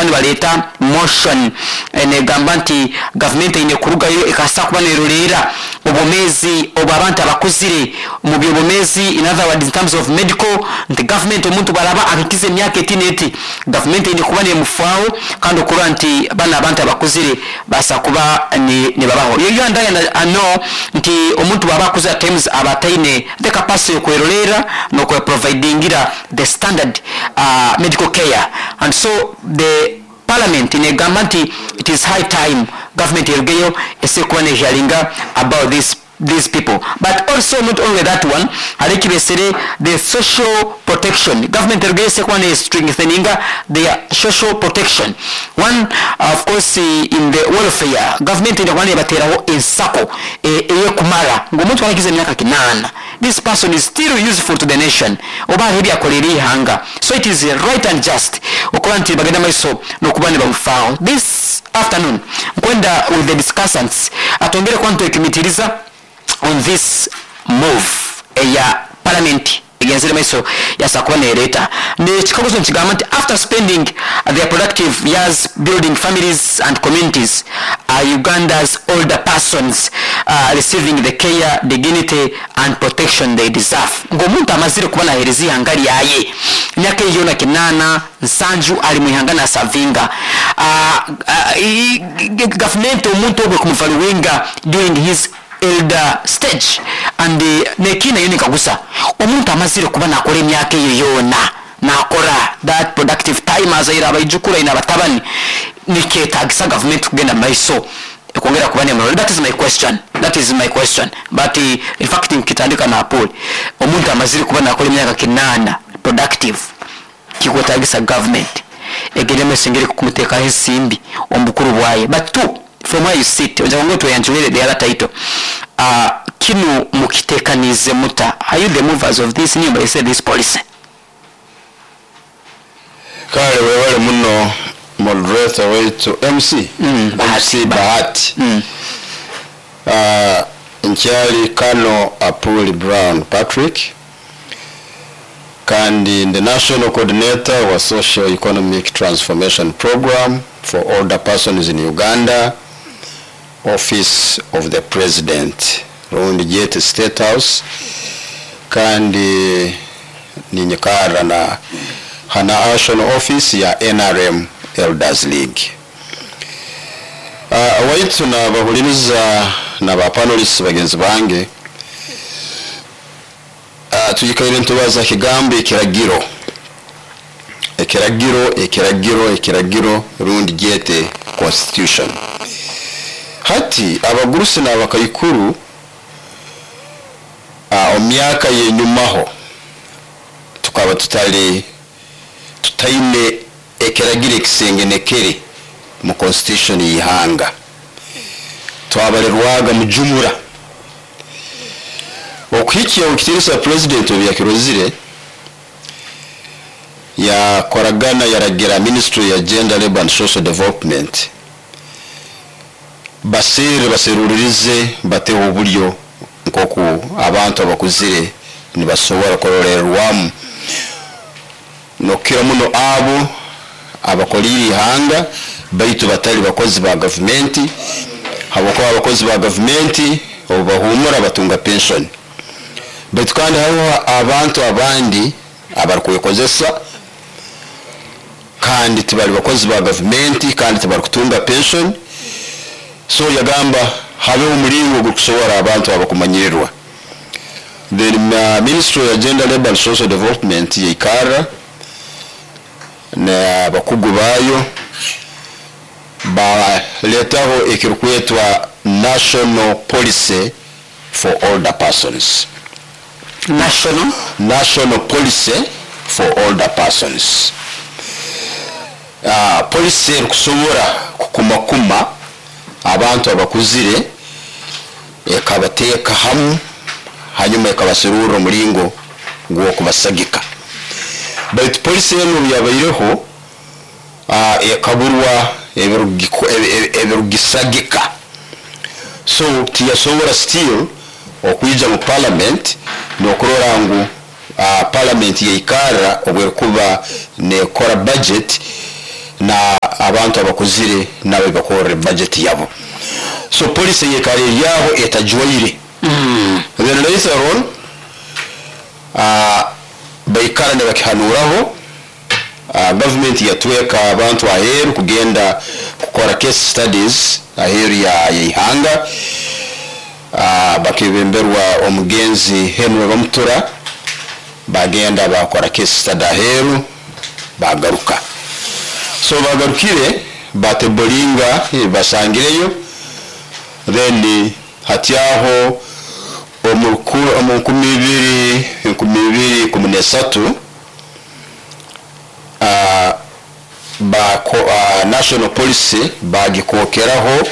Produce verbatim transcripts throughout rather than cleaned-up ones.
kuba nibaleeta motion eh, negamba nti gavumenti eine kurugayo ekasa kuba neroleera obwomeezi obw'abantu abakuzire mu byobwomeezi, in other words, in terms of medical, nti gavumenti omuntu bwaraba ahikize emyaka eti n'eti, gavumenti eine kuba nemufaaho kandi okurora nti bano abantu abakuzire basa kuba ni- nibabaho. You and I I know nti omuntu bwaba akuze, at times aba ataine the capacity yokwerolera nokweprovidingira the standard uh, medical care, and so the parliament negamba nti it is high time government erugeyo ese kuba nehearinga about this these people. But also, not only that one, hari ekibesere the social protection. Government erugeyo ese kuba ne strengtheninga their social protection. One, of course, eh, in the welfare, government ine kuba nebateraho ensako eh, eyekumara ngu omuntu arakiza emyaka kinaana, this person is still useful to the nation oba hariho ebyakolera ihanga. So it is right and just okuba nti bagenda maiso nokuba nibamufaaho. This afternoon nkwenda with the discussants atongere kuba ntwekimitiriza on this move eya parliament egenzere maiso yasa kuba nereeta nekikaguzo nkigamba nti, after spending their productive years building families and communities, are Uganda's older persons uh, receiving the care, dignity and protection they deserve? Ng'omuntu amazire kuba nahereza ihanga lyaye emyaka eyo yona kinaana nsanju ali muihanga nasavinga, uh, uh, gavumenti omuntu ogwe kumuvaluinga during his elder stage? And uh, nekina yo nikagusa omuntu amazire kuba nakora emyaka eyo yona, nakora that productive time, azaire abaijukuru, aine abatabani, nikyetagisa gavumenti kugenda maiso ekwongera kuba nemurole? That is my question, that is my question. But uh, in fact nkitandika na Paul, omuntu amazire kuba nakora emyaka kinaana productive, kikwetagisa government egende maiso engeri kumuteekaho ensimbi omu bukuru bwaye? But two, from where you sit, ojja ngo tweyanjulire the other title, uh, kinu mukitekanize muta? Are you the movers of this new, I say, this policy? Kale, wewale muno, moderator waitu, M C. Mm, Bahati. M C Bahati. mm. uh, nkyali Kano Apuli Brown Patrick, kandi the national coordinator wa Social Economic Transformation Program for Older Persons in Uganda, Office of the President, rundi gyete State House, kandi ninyikara na hana national office ya N R M Elders League. uh, waitu na bahuliriza na ba panelists bagenzi bange, uh, tuyikaire ntubaza kigambo ekiragiro, ekiragiro, ekiragiro, ekiragiro, rundi gyete constitution. Hati abagurusi n'abakaikuru uh, omu myaka yenyumaho tukaba tutali tutaine ekiragiro ekisengenekere mu constitution y'ihanga, twabalirwaga mujumura okuhikya ekitiinisa president obu yakirozire, yakoragana, yaragira Ministry ya Gender, Labor and Social Development basere baseruririze bateho obulyo nkoku abantu abakuzire nibasobora kurolerwamu, nokukira muno abo abakolire ihanga baitu batali bakozi ba gavumenti, habwokuba abakozi ba gavumenti obu bahumura batunga pension, baitu kandi hariho abantu abandi abarikwekozesa kandi tibali bakozi ba gavumenti kandi tibarikutunga pension. So yagamba habeho omulingo gukusobora abantu abakumanyirirwa. Then uh, Ministry ya Gender, Labor and Social Development yaikarra n'abakugu baayo baletaho ekirukwetwa National Policy for Older Persons. National National Policy for Older Persons, uh, policy erikusobora kukumakuma abantu abakuzire, ekabateeka hamu, hanyuma ekabaserurra omulingo gw'okubasagika. Baitu policy enu obu yabaireho, uh, ekaburwa ebirugiko- ebi- ebi- ebirugisagika, so tiyasobora still okwija mu parliament nokurora ngu uh, parliament yaikarra obwerikuba nekora budget na Abantu abakuzire nabo bakorre budget yabo. So policy yekara eryaho etajwaire. Then later on uh, baikara nibakihanuraho, uh, government yatweka abantu aheeru kugenda kukora case studies aheeru ya ya ihanga. uh, bakebemberwa omugenzi Henry Bamutura, bagenda bakora case study aheeru, bagaruka. So bagarukire batebolinga, eh, basangireyo. Then hatyaho omu ruku- omu nkumi ibiri enkumi ibiri kumi nesatu ah, bako, uh, national policy bagikokeraho,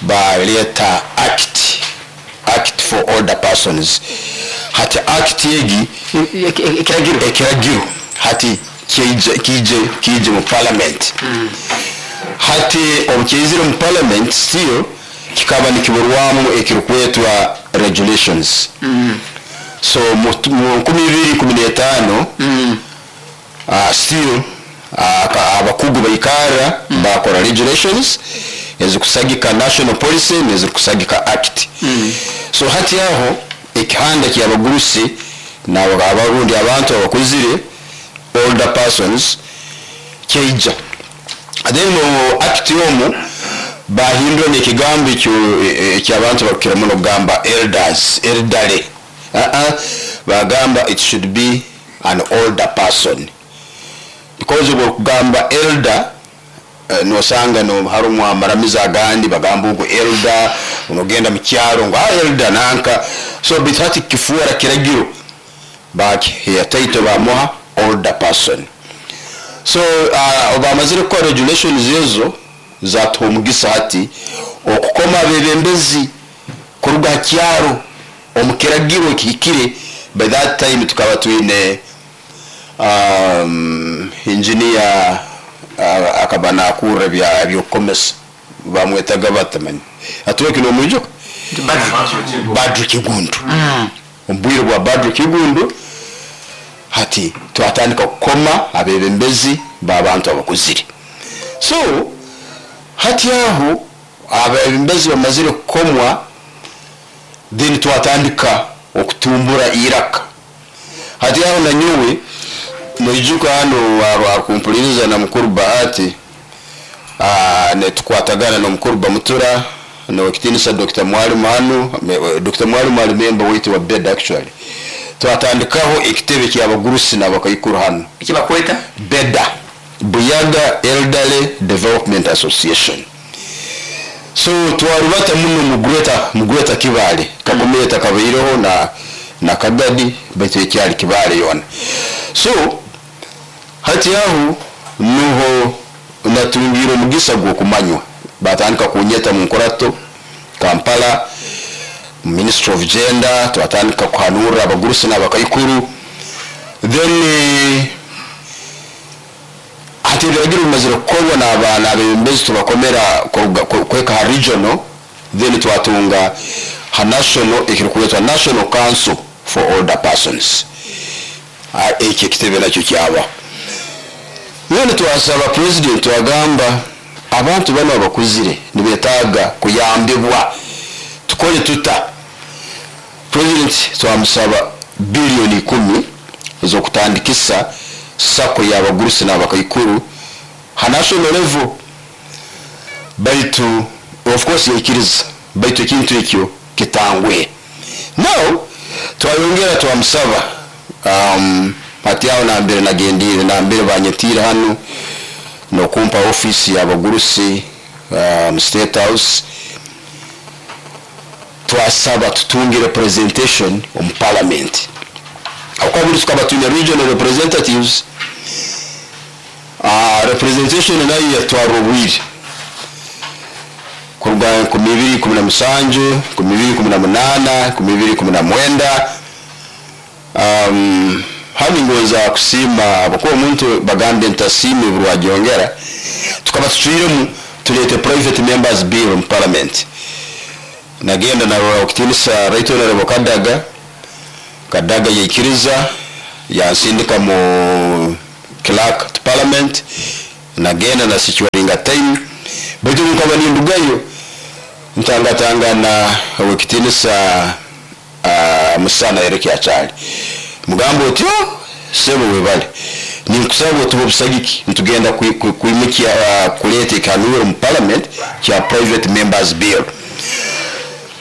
baleta act act for older persons. Hati act egi, ekiragiro, ekiragiro hati kije kije kije mu parliament. Hati obu kyaizire mu parliament, still kikaba nikiburwamu ekirikwetwa regulations. So mu mu nkumi ibiri kumi n'etaano uh, still uh, ka- abakugu baikara bakora regulations ezikusagika national policy nezikusagika act. So hati aho ekihanda kyabagurusi n'abarundi, abantu abakuzire, older persons, kyaija. Then mu act omu bahindura nekigambo ekyo ekyabantu bakira muno kugamba elders, elderly. uh -uh. Bagamba it should be an older person, because bwokugamba elder, eh, nosanga no harumu amaramizo agandi bagamba ogu elder, onogenda mu kyaro ngo ah, elder nanka. So baitu hati kifuura kiragiro, bakiha title, bamuha older person. So uh, bamazire kukora regulations ezo, zatuha omugisa hati okukoma abebembezi kuruga ha kyaro omu kiragiro ekihikire. By that time tukaba twine um, engineer uh, akaba nakurra bya ebyokukomesa, bamwetaga batamani atuweke nomwijuka, Badru Kigundu. Omu bwire bwa Badru Kigundu hati twatandika kukoma abebembezi babantu abakuzire. So hati aho abebembezi bamazire kukomwa, then twatandika okutumbura iraka. Hati aho nanyowe noijuka hano arukumpuliriza na mukuru Bahati, ah, netukwatagana nomukuru Bamutura nowekitinisa Doctor Mwalimu hano. me- Doctor Mwalimu ali member waitu wa BEDA. Actually twatandikaho ekitebe kyabagurusi n'abakaikuru hano. Ekibakweta? BEDA, Buyaga Elderly Development Association. So twarubata muno mu Greater mu Greater Kibaale. Kakumeta kabaireho na na Kagadi, baitu ekyali Kibaale yona. So hati aho nuho natungira omugisa gw'okumanywa, batandika kunyeta mu nkorato Kampala, Ministry of Gender. Twatandika kuhanura abagurusi n'abakaikuru. Then eh, hati ebiragiro bimazire kukorwa n'abaana abebembezi, tubakomera kuruga- ku- kweka ha regional, then twatunga ha national ekirikwetwa National Council for Older Persons. Ah, ekyo ekitebe nakyo kyabaho. Then twasaba president, twagamba abantu bano abakuzire nibetaaga kuyambibwa, tukole tuta? President twamusaba biliyoni ikumi ez'okutandikisa SACCO y'abagurusi n'abakaikuru ha national level. Baitu of course yaikiriza, baitu ekintu ekyo kitangwe. Now twayongera twamusaba, um, hati aho nambere nagendire, nambere banyetiire hano nokumpa ofisi y'abagurusi um, State House, twasaba tutunge representation omu parliament. Akwabuli tukaba twine regional representatives. uh, representation nayo yatwara obwire kuruga nkumi ibiri kumi na musanju, nkumi ibiri kumi na munaana, nkumi ibiri kumi na mwenda. um, hano ngoza kusiima bakuba omuntu bagambye ntasiime burwagyongera. Tukaba tucwiremu tulete private members bill mu parliament. Nagenda narora okutinisa Right Honorable Kadaga. Kadaga yaikiriza, yansindika mu clerk to parliament. Nagenda na securinga time, baitu nkaba nindugayo ntangatangana owekitinisa uh, Musana Eric Achali, mugamba otyo sebo webale, ninkusaba otuba obusagiki ntugenda kwimukya uh, kuleta ekanuro mu parliament kya private members bill.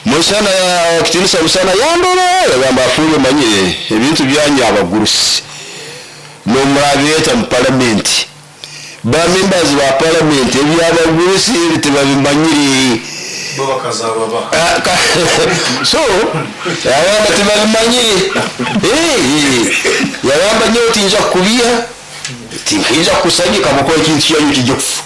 Musana kitinisa Musana yandora yagamba afuye manye ebintu byanyu abagurusi nomurabeta mu parliament, ba members ba parliament ebyabagurusi tebabimanyiri bo bakazaba ba so yagamba tebabimanyiri eh yagamba nyo tinja kubia tinja kusanyika mukora ekintu kyanyu kijja kufa.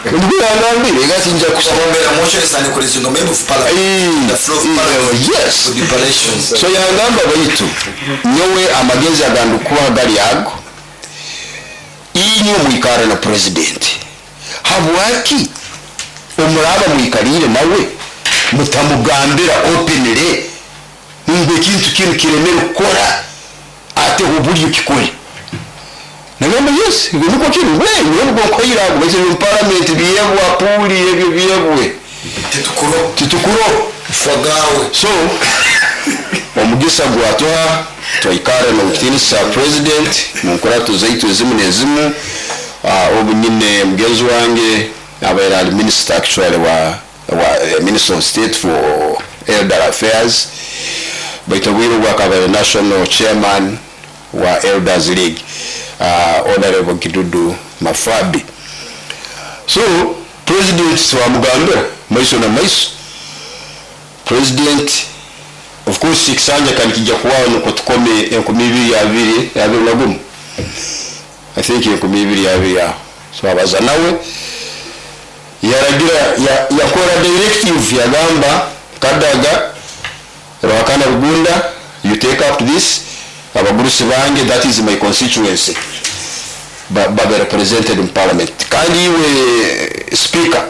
Ndibangambire gati nja kusabongera motion isani kulizinga member of parliament the floor of parliament. Yes, to the operations. So yangamba baitu nyowe amagezi agandukuwa gali ago inyo mwikara na president habwaki omuraba mwikarire nawe mutamugambira openly ngo ekintu kinu kiremere kukora ate oburyo kikore. Nagamba yes, niko kiri wewe niko koyira ngo bese mu parliament biyebwa puli ebyo biyebwe titukuro titukuro fagawe. So omugisa gwatoha twaikara na kitinisa president mu nkurato zaitu ezimu n'ezimu. uh, obu nyine mugenzi wange abaire ali minister actually wa, wa minister of state for elder affairs, baitu obwire obwo akaba national chairman wa elders league, uh, honorable Gidudu Mafabi. So president twamugambira maiso na maiso. President of course ekisanja kandi kijja kuwaho nuko tukome enkumi ibiri abiri abiri na gumu, I think enkumi ibiri abiri aho. So abaza nawe yaragira yakora directive yagamba Kadaga Ruhakana Rugunda, you take up this abagurusi bange, that is my constituency, babe represented in parliament. Kandi iwe speaker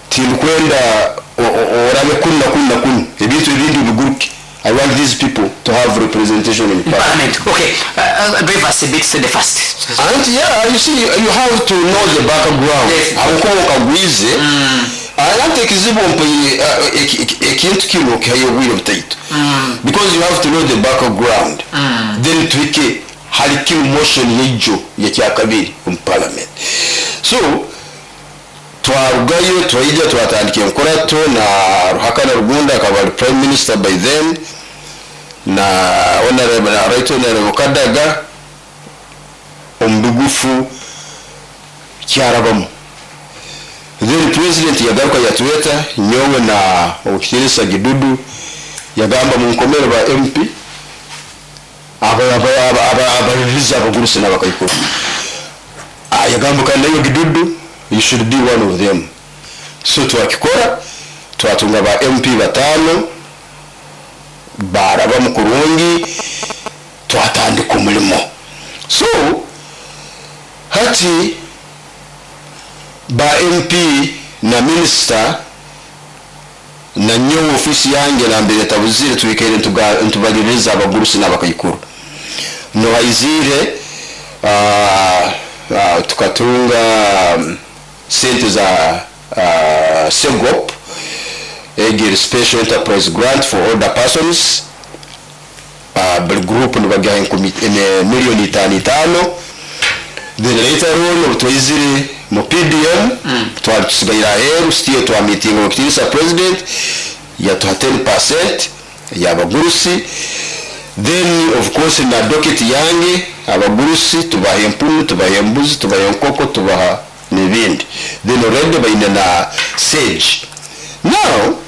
tinkwenda orabe kunna kunna kunna ebintu ebindi biguruke. I want these people to have representation in parliament. Parliament. Okay, uh, uh, drive us a bit the fast. And yeah, you see, you have to know the background. Aho ukagwize arante ekizibu ekintu kino kihayo butaitu, because you have to know the background. Mm. Then twike hari kimu motion yejo ya kyakabiri mu parliament. So twarugayo twaija twatandika enkorato na Ruhakana Rugunda akaba prime minister by then, na honorable na right honorable Kadaga omubugufu kyarabamu. Then president yagaruka yatweta nyowe na okitirisa Gidudu yagamba munkomere ba M P aba aba aba abaririza abagurusi n'abakaikuru. Ah, yagamba kandi nayo Gidudu you should be one of them. So twakikora twatunga ba M P batano baraba mukurungi twatandika umurimo. So hati ba M P na minister na nyowe ofisi yange na mbere tabuzire twikere ntubaliriza abagurusi n'abakaikuru no baizire uh, uh, tukatunga um, sente za uh, SEGOP egeri special enterprise grant for older persons, uh, buli group nibagaha milioni itano itano. Then later on twaizire mu P D M mm. twari tusigaira aheru still twa meeting okitirisa president yatuha ten percent y'abagurusi. Then of course na docket yange abagurusi tubaha empunu, tubaha embuzi, tubaha enkoko, tubaha n'ibindi. Then already baine na sage. Now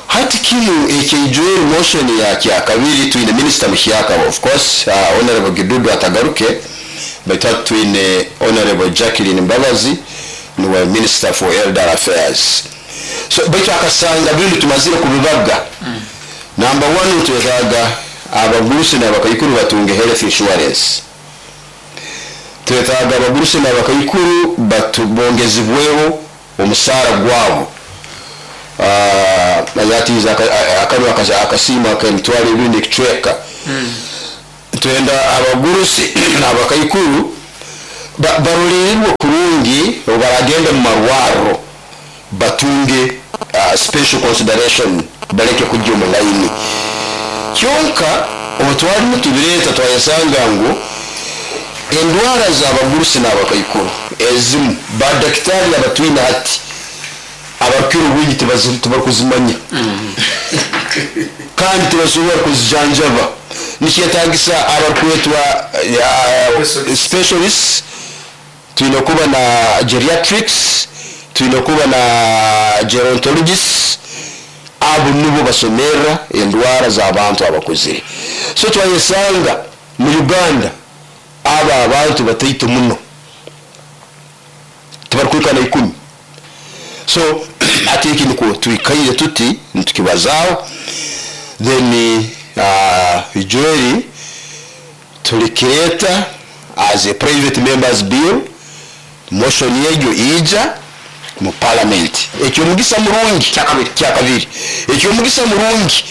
hati kinu ekijweri motion ya kyakabiri twine minister Mushyaka of course, uh, honorable Gidudu atagaruke, but twine honorable Jacqueline Mbabazi niwe minister for elder affairs. So baitu akasanga bintu tumazire kubibaga. Mm. Number one twetaaga abagurusi n'abakaikuru batunge health insurance. Twetaaga abagurusi n'abakaikuru batubongezibweho omusaara gwabo. Uh, yatiza akanwa akasima ak'emitwaro ebiri n'ekicweka. Mm. Twenda abagurusi n'abakaikuru Ba- barolererwe kurungi obu baragenda mu marwarro batunge uh, special consideration, baleke kujya omu layini. Kyonka obu twalimu tubireeta, twayesanga ngu endwara z'abagurusi n'abakaikuru ezimu badakitaari abatwine hati abarukira obwingi tibazi- tibarukuzimanya kandi tibasobora kuzijanjaba. Nikyetagisa abarukwetwa uh, specialists. Twine kuba na geriatrics, twine kuba na gerontologists, abo nibo basomerra endwara z'abantu abakuzire. So twayesanga mu Uganda abo abantu bataito muno, tibarukwikana ikumi. So ati eki nikwo twikaire tuti nitukibazaaho. Then uh, ijweri tulikireta as a private members bill, motion yegyo ija mu parliament. Ekyomugisa murungi Kyakabiri. Kyakabiri. Ekyomugisa murungi,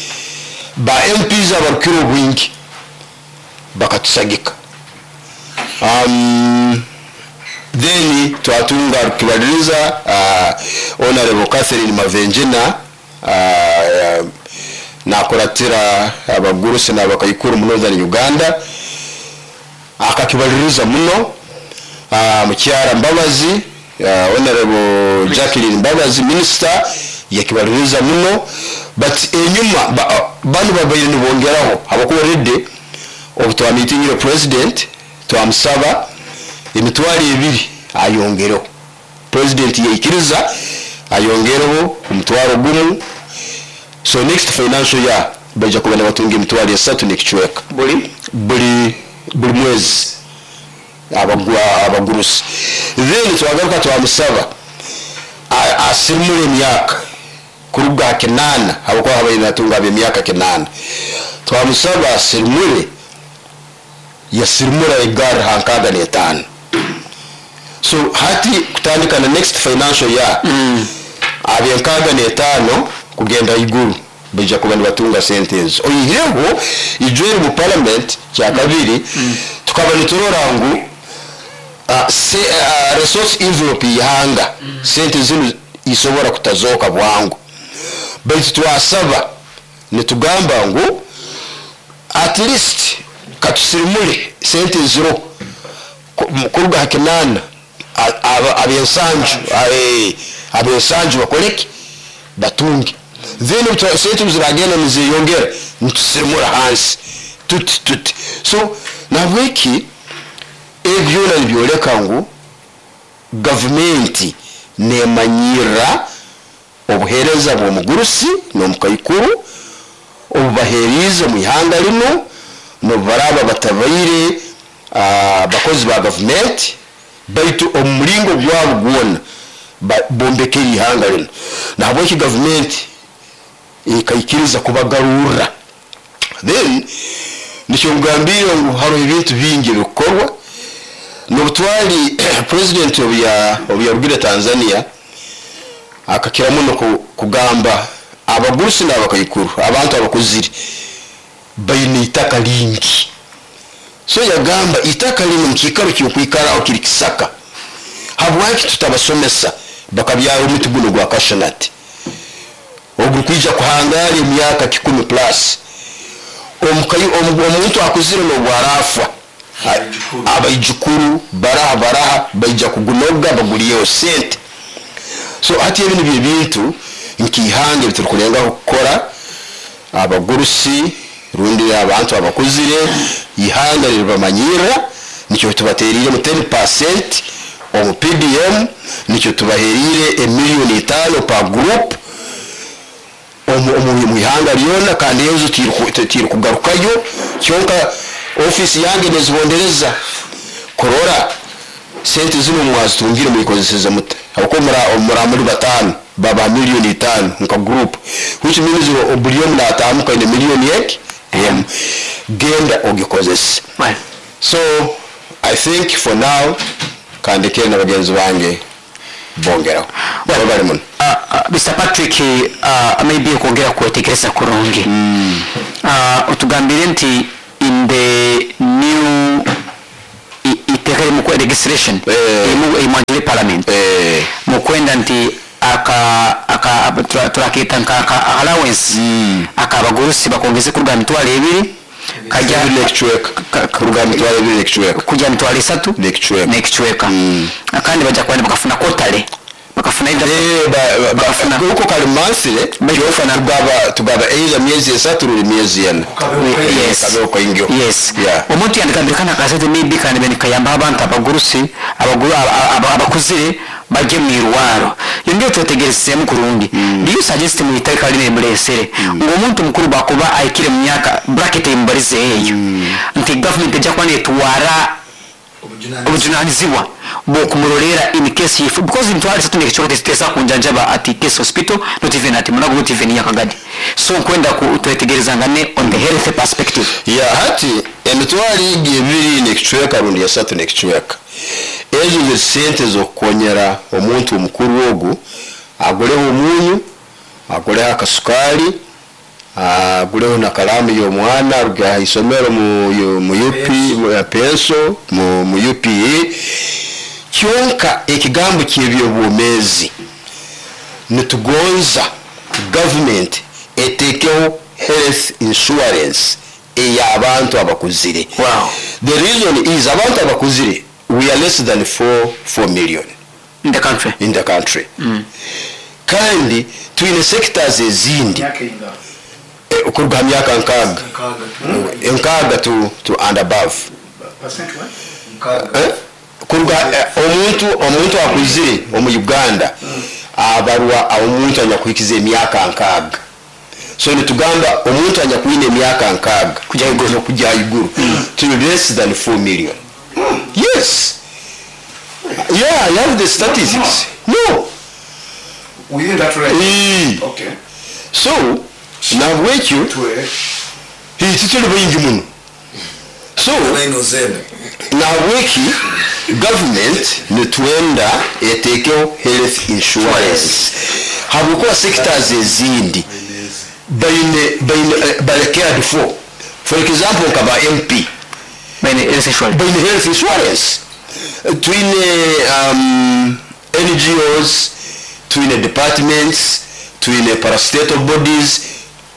ba M Ps abarukira obwingi bakatusagika. um, then twatunga rukibaliriza uh, Honorable Catherine Mavenjina, uh, nakuratira abagurusi n'abakaikuru mu Northern Uganda, akakibaliriza muno. uh, mukyara Mbabazi, uh, Honorable Jacqueline Mbabazi, minister, yakibaliriza muno. But enyuma ba, bano babaire nibongeraho, habwokuba already obu twamitingire president twamusaba emitwaro ebiri ayongereho. President yaikiriza ayongereho omutwaro gumu. So next financial year baija kuba nibatunga emitwaro esatu n'ekicweka buli buli buli mwezi abagwa abagurusi. Then twagaruka twamusaba a- asirimule emyaka kuruga ha kinaana, habwokuba habaire natunga ab'emyaka kinaana. Twamusaba asirimule, yasirimura egarra ha nkaaga n'etaano. So hati kutandika na next financial year, ab'enkaaga n'etaano kugenda iguru baija kuba nibatunga sente ezo. Oihireho ijweri mu parliament kyakabiri tukaba niturora ngu uh, se, uh, resource envelope y'ihanga, sente zinu isobora kutazooka bwangu, baitu twasaba nitugamba ngu at least katusirimule sente ziro ku- kuruga ha kinaana, a- aba- ab'ensanju, eh, ab'ensanju bakoleki, batunge. Then twa- sente ziragenda nizeyongera, nitusirimura hansi tuti tuti. So nabweki ebyo byona nibyoleka ngu gavumenti nemanyirra obuheereza bw'omugurusi n'omukaikuru obubaheeriize mu ihanga lino, nobubaraba batabaire ah, bakozi ba gavumenti, baitu omu mulingo gwabo gwona ba- bombekere ihanga lino. Nahabweki gavumenti ekaikiriza kubagarurra. Then nikyo ngambire ngu hariho ebintu bingi ebikukorwa. Nobutwali president obu ya- obu yarugire Tanzania, akakira muno ku- kugamba abagurusi n'abakaikuru, abantu abakuzire baine itaka lingi. So yagamba itaka lino mukiikaro kyokwikaraho kiri kisaka, habwaki tutabasomesa bakabyara omuti guno gwa cashew nut ogurukwija kuhangara emyaka kikumi plus? Omukayi- omu- omuntu akuzire nobwarafa, abaijukuru baraha baraha baija kugunoga baguliyeho sente. So hati ebi nibyo ebintu nk'ihanga ebiturukulengaho kukora. Abagurusi rundi abantu abakuzire, ihanga liribamanyirra. Nikyo tubateriire ten percent omu P D M, nikyo tubaheriire emiliyoni itaano pa group omu omu- mu ihanga lyona. Kandi ezo tiri kugarukayo, kyonka ofisi yange nezibondereza kurora sente zino mwazitungire muyikozeseze muta, habwokuba mura mura muri batano baba miliyoni itaano nka group, which means buli omu natamuka ine miliyoni eki emu, genda ogikozese. Right. So I think for now kandekere na bagenzi bange bongeraho baba bali muno. Uh, uh, Mister Patrick, uh, maybe okwongera kwetegereza kurungi, uh, otugambire nti in the new i- iteeka erimu- Legislation Eh. emu emwanjire parliament Eh, mukwenda nti aka aka tura- turaketa nka aka allowance Mm. akabagurusi bakongeze kuruga mitwalo ebiri kajja ebiri n'ekicweka ka- kuruga mitwalo ebiri n'ekicweka kujja mitwalo esatu n'ekicweka n'ekicweka Mm. kandi bajja kuba bakafuna kotale bakafuna either- Eh, ba- ba- Bakafuna. ba- uko kali mansire Bakafuna. tugaba tugaba either myezi esatu ruli myezi ena Yes. kabeho kaingyo Yes. Yeah. Omuntu yandikambire kana akasente maybe kandi bene kayamba abantu abagurusi abaguru aba- aba- abakuzire bajye mu irwaro. Iyo ngiyo twetegerezeemu kurungi. Do you suggest mu iteeka lino emuleesere ng'omuntu mukuru bwakuba ayikire mu myaka bracket emubalize eyo nti government ejja kuba netwara obujunanizibwa bwokumurolera in case if because emitwalo esatu nekicweka teziteesa kunjanjaba at case hospital, not even at Mulago, not even Nyakagadi. So nkwenda ku- twetegerezangane on the health perspective. Ya, hati emitwalo egi ebiri n'ekicweka rundi esatu n'ekicweka, ezo ze sente z'okukonyera omuntu omukuru ogu aguleho omunyu, aguleho akasukaali, aguleho na kalaamu y'omwana aruge ha isomero mu, mu, mu U P mu penso mu, mu U P E. Kyonka ekigambo ky'ebyobwomeezi, nitugonza government etekeho health insurance ey'abantu abakuzire. Wow. The reason is abantu abakuzire, we are less than four four million in the country. In the country. Kandi twine sectors ezindi. Eh, okuruga ha myaka nkaaga nkaaga to, to and above. Eh? Kuruga eh, omuntu omuntu akuzire omu Uganda abarwa omuntu anyakuhikiza emyaka nkaaga. So nitugamba omuntu anyakwine emyaka nkaaga Kujya haiguru. Kujya haiguru, tuli less than four million. Yes, yeah, I have the statistics. No. Within that range. Eh. Okay. So nabwekyo Twe. tituli baingi muno, so Nine ozembe. Nabweki government nitwenda etekeho health insurance habwokuba sectors ezindi baine baine eh, bali cared for. For example, nka ba M P Baine health insurance. Baine health insurance. Twine um, N G Os, twine departments, twine parastatal bodies,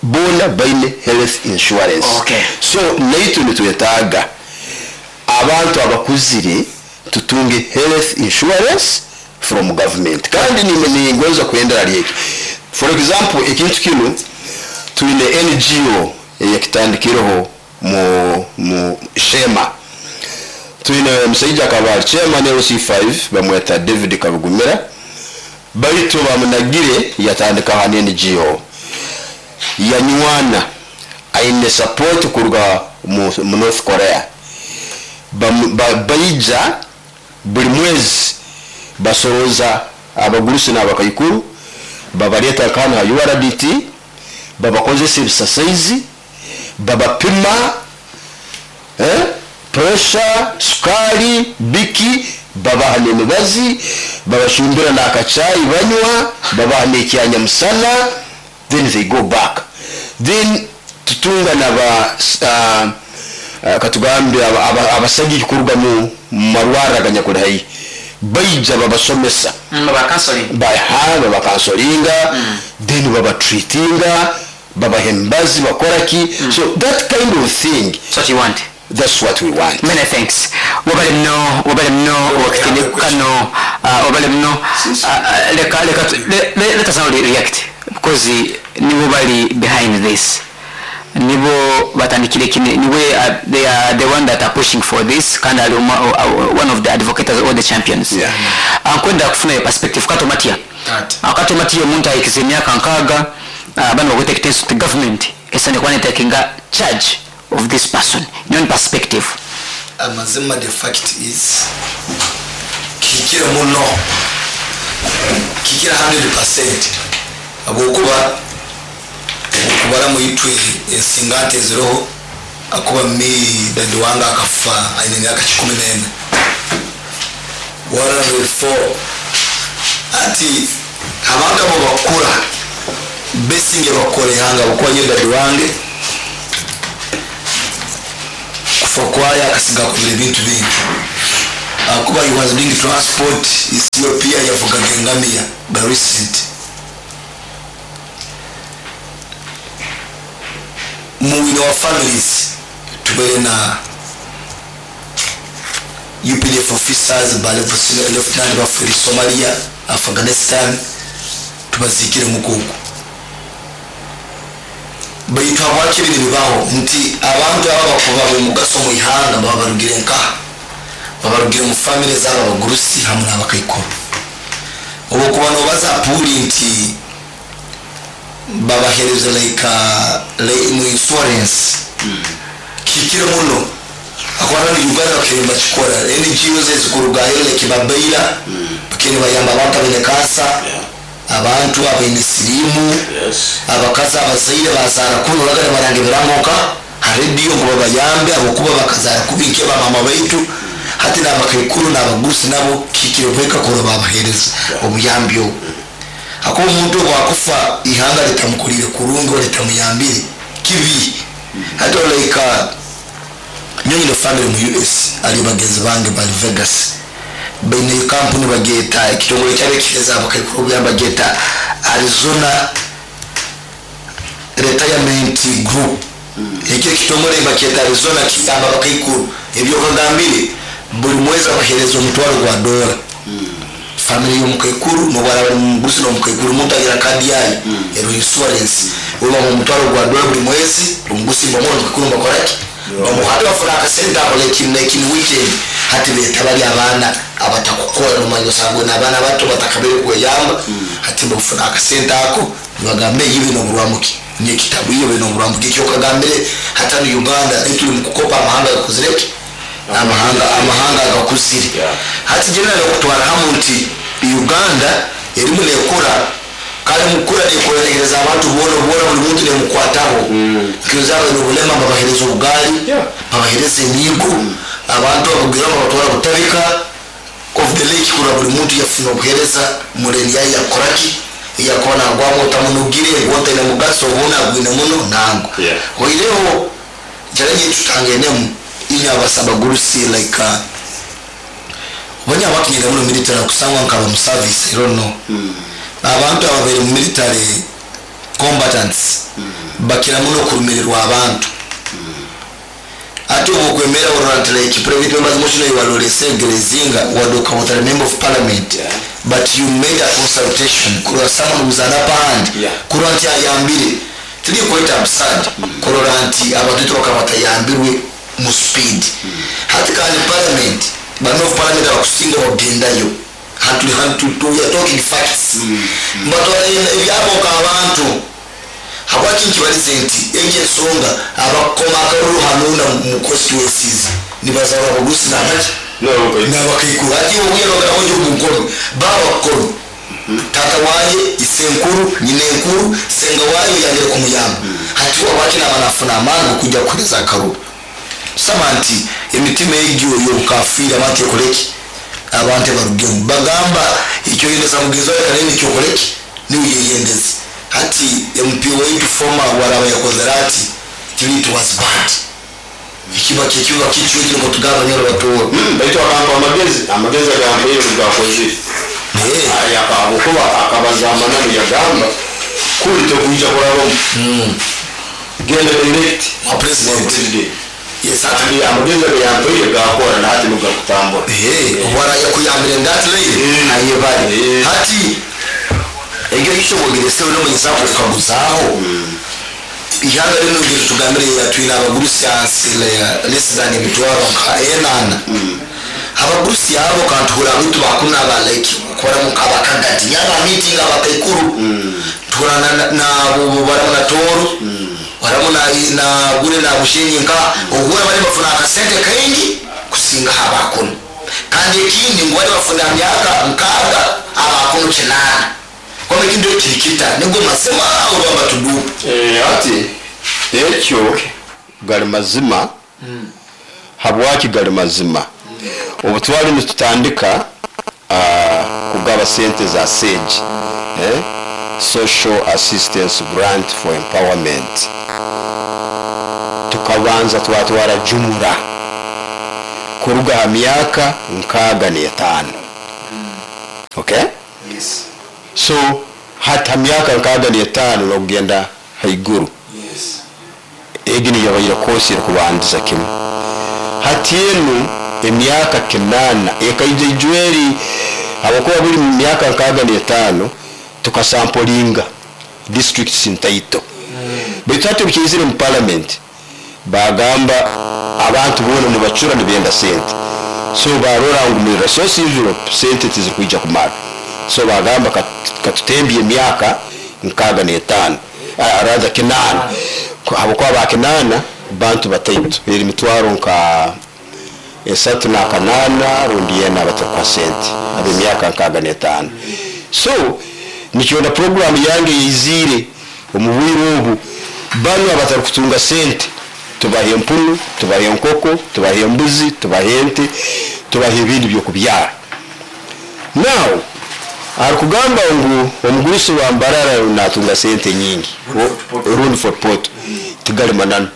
bona baine health insurance. Okay. So naitwe nitwetaaga abantu abakuzire tutunge health insurance from government. Kandi ningonza kuendera lyeki, for example, ekintu kinu twine N G O eyakitandikireho mu, mu Shema. Twine omusaija akaba ali chairman L C five, bamweta David Kabugumira, baitu bamunagire yatandika hano N G O yanywana, aine support kuruga mu, mu North Korea. Bamu- ba- baija buli mwezi basoroza abagurusi n'abakaikuru, babaleta kano ha U R D T, babakozesa ebisasaizi, babapima eh, pressure, sukali, biki, babaha n'emibazi, babashumbira n'akacayi banywa, babaha n'ekyanyamusana, then they go back. Then tutunga naba uh, uh, katugambe abasajja kuruga mu marwara aganyakuli haihi, baija babasomesa. Baba counseling. Baha babacounselinga, then babatreatinga, babaha emibazi, bakoraki. So that kind of thing. That's what you want. That's what we want. Many thanks. Wabale mno, wabale mno wakitini kano, uh, wabale mno. uh, leka leka le, le, let us now react because nibo bali behind this, nibo batandikire kine, niwe uh, they are the one that are pushing for this kandi ali uma, uh, one of the advocates or the champions. Yeah. Ankwenda kufuna your perspective kato matia. Ati. Akato matia, omuntu ayikiza emyaka nkaaga, uh, bano bakweta ekitenso ti government esane kuba netakinga charge of this person, in your own perspective. Amazima, the fact is kihikire muno, kihikire kikumi ku igana habwokuba okubara muitwe ensinga nte eziroho akuba mi dadi wange akafa aine emyaka kikumi nena, kikumi na nna. Ati abantu abo bakura besinge bakora ihanga bukuba nyo dadi wange kufa kwayo akasiga kubira ebintu bingi. Akuba he was doing transport Ethiopia, yavugaga engamiya ba recent mu in our families. Tubeere na U P D F officers ba level senior lieutenant bafuire Somalia, Afghanistan, tubazikire mukuku. Baitu habwaki biri bibaho nti abantu aba bakuba bomugaso mu ihanga baba barugire nkaha, babarugire mu family zabo, abagurusi hamwe n'abakaikuru? Obwokuba nobaza puli nti babahereza like, uh, like mu insurance kikire muno akwara ni Uganda bakiri bakikora. N G Os ezikurugayo like babaira bakiri bayamba abantu abaine kansa, abantu abaine sirimu, abakazi abazaire bazaara kuno bagana baranga ebiramoka ha rediyo ngu babayambe abokuba bakazaara kubi nke bamama baitu. Hati n'abakaikuru n'abagurusi nabo kikire kweka kuro babahereza obuyambi obwo. Akuba omuntu obwakufa ihanga litamukolire kurungi oba litamuyambire, kibi. Hati like nyonyine family mu U S, ali bagenzi bange bali Vegas, baine kampuni bagyeta ekitongole kyabekihereza abakaikuru obuyambi, bagyeta Arizona Retirement Group. Ekyo ekitongole bakyeta Arizona, kiyamba abakaikuru. Ebyokagambire buli mwezi abahereza omutwaro gwa dola family y'omukaikuru, nobwaraba mugurusi n'omukaikuru, omuntu agira kadi yayo ero insurance, oba mu mutwaro gwa dola buli mwezi. Omugusi mbamwe, omukaikuru mbakoraki, bamuhate bafuna akasente ako like in, like in weekend. Hati beta bali abaana abatakukora, nomanya osanga n'abaana bato batakabere kweyamba, hati bafuna akasente ako nibagambe ibe noburwamuki nekitabu iyo bino oburwamuki. Ekyo kagambire hatano Uganda tuli mukukopa amahanga gakozireki, amahanga amahanga agakuzire. Yeah. Hati general okutwara hamu nti Uganda erimu nekora, kale mukura nekoregereza abantu bona bona, buli muntu nemukwataho. Nkiza abaine obulema babahereza obugaali, Yeah. babahereza emiigo, abantu abagira babatwara Butabika of the lake kura buli muntu yafuna obuhereza mureni yayi yakoraki yakuba nagwamu otamunugire gwotaine mugaso obuna agwine muno nango. Yeah. Oireho challenge tutangenemu inya abasabagurusi like uh, obanya abakinyira muno military kusangwa nkaba mu service, I don't know, abantu ababaire mu military combatants bakira muno okurumirirwa abantu. Ate obwo okwemera orora nti like private members motion iwalolese gerezinga wadoka wotari member of parliament, Yeah. but you made a consultation kurora someone who's an upper hand, Yeah. kurora nti ayambire. Tiri quite absurd kurora nti abantu bakaba batayambirwe mu speed. Hati kandi parliament, bano of parliament abakusinga bagendayo hantu hantu, we are talking facts, mbatwara ebyaboka abantu. Habwaki nkibalize nti egyo ensonga abakoma akalulu hanuna mu constituencies nibazarwa abagurusi nabaki nabakaikuru. Ati obuyerogeraho njogu baba kono tata waye, isenkuru, nyina enkuru, senga wayo yangere kumuyamba, hati wabaki nabanafuna amaani okujja kuhereza akarulu. Saba nti emitima egyo yobukafiiri abantu ekoleki, abantu ebarugemu bagamba ekyoyendeza mugenzi wawe kanene kyokoleki niwe yeyendeze. Hati M P waitu former waraba yakozere ati it was bad, ekiba kyekiba kikyukire mutugamba nyoro batooro. Baitu akampa amagezi, amagezi agambaire gakozire habwokuba akabaza amananu, yagamba kuli tekuija kurabamu, genda direct wa president. President. Yes, ati Kandi amagezi agayampaire gakora nahati nugakutambura. Wara yakuyambire ndatire Eh. ayebale. Eh. Hati egyo ishobogere nomunyisa kukaguzaho ihanga rino ngeri tugambire yatwine abagurusi hansi less than emitwaro nka enana. Abagurusi abo kantuhura abitu bakunaba like kora mukabakagati nyaba meeting abakaikuru tuhura na baramu na Toro, baramu na na gure na Bushenyi, nka ohura bari bafuna akasente kaingi kusinga abakono. Kandi ekindi ngu bari bafuna myaka nkaaga, abakono kinana. Kwamba ekintu ekirikita nigwo mazima orwamba tudupu. Eh, ati ekyo gali mazima. Habwaki gali mazima? Obu twali nitutandika ah, kugaba sente za SAGE, eh? Social Assistance Grant for Empowerment, tukabanza twatwara jumura. Kuruga ha myaka nkaaga n'etaano, okay? Yes. So hati ha myaka nkaaga n'etaano n'okugenda haiguru, Yes. egi niyo yabaire kosi erikubandiza kimu. Hati enu emyaka kinaana ekaija ijweri, habwokuba buli mu myaka nkaaga n'etaano tukasampolinga districts ntaito, baitu hati obukiizire mu parliament bagamba abantu boona nibacura, nibenda sente, so barora ngu mu resource envelope sente tizirikwija kumara, so bagamba kat- katutembye emyaka nkaaga n'etaano, ah, rather kinaana, habwokuba ba kinaana bantu bataito, eri mitwaro nka esatu n'akanaana rundi yena abatakuha sente ab'emyaka nkaaga n'etaano. So nikyona programu yange yeiziire omu bwire obu, banu abatarikutunga sente tubaha empunu, tubaha enkoko, tubaha embuzi, tubaha ente, tubaha ebindi byokubyara. Now arikugamba ngu omugurusi wa Mbarara natunga sente nyingi rundi Fort Portal, tigali mananu